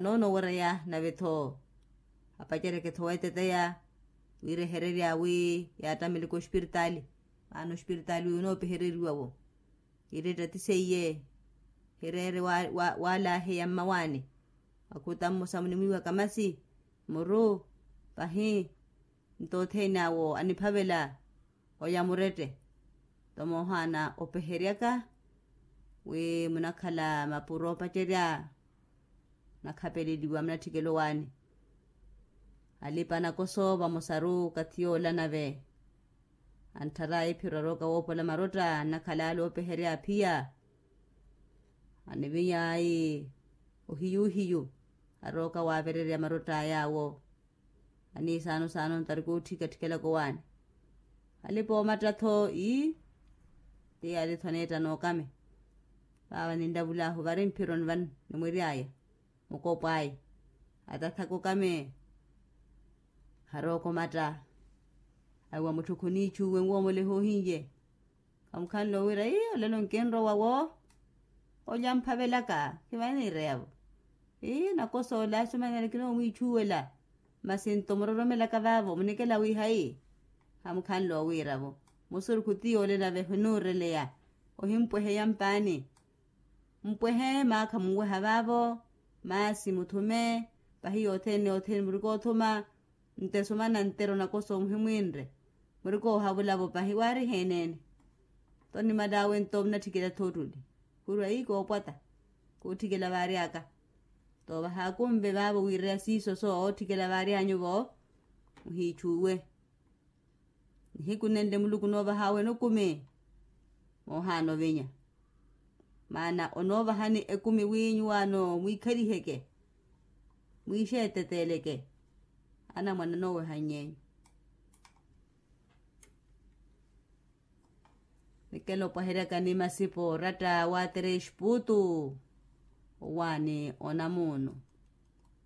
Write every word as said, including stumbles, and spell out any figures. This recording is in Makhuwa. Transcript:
Noono owereya nave-tho apacereke-tho weeteteya wiirehererya wi yaattamele koospiritaali. Maana ospiritaali wi onoopehereriwa-wo ireetta ti seiye. Hireere waalaaheya mmawaani akhuta mmosa munimwiiwaka masi muru pahi nto othene awo aniphavela oya murette. Nto moohaana opeheryaka wi munakhala mapuro opacerya munakhapeleliwa munatthikela owaani. Alipa nakoso vamosaru okathi yoola nave antthara iphiro arooka woopola marotta annakhala ale oopeherya aphiya. Anivinya ayi ohiyu ohiyu arooka waavererya marotta ay'awo. Aniisaano saano ntari kootthikkatthikela kowaani. Alipa oomatta-tho ii ti yaali-tho aneetta nookame. Vaava ninlavulahu vari mphironi vani nimwiry'aya mukopo aya atathaka okame. Harooka omatta awi wa mutthu khuniichuwe nwoomole hoohinye. Khamukhanle owira ii olelo nkinrowa wo olya mphavelaka khivaniireya-vo. Ii nakosoola asimana kinoomwiichuwela masi nto muroromelaka vaavo munikela wi hayi. Khamukhanle owiira-vo musurukhu ti yoole nave hinuureleya ohimpweheya mpaani. Mpwehe maakha munweha vaavo masi muthume pahi yothene yothene murikoothuma. Nte sumana ntero nakoso muhimwinre murikoohavula-vo pahi waari heeneene. Nto nimal'awe nto munatthikela-tho ottuli khurwa ii koopwata kootthikela vaary'aka. Nto vahaakunve vaavo wiireya siiso soo ootthikela vaary'anyu-vo muhiichuwe. Nihiku nenle muluku noovahawene okumi moohaana ovinya. Maana onoovahani ekumi wi nyuwaano mwiikhaliheke mwiixeeteteeleke anamwane anoowehany'enyu. Nikela opwaheryakani masipo oratta waatereya exputu owaani onamuunu.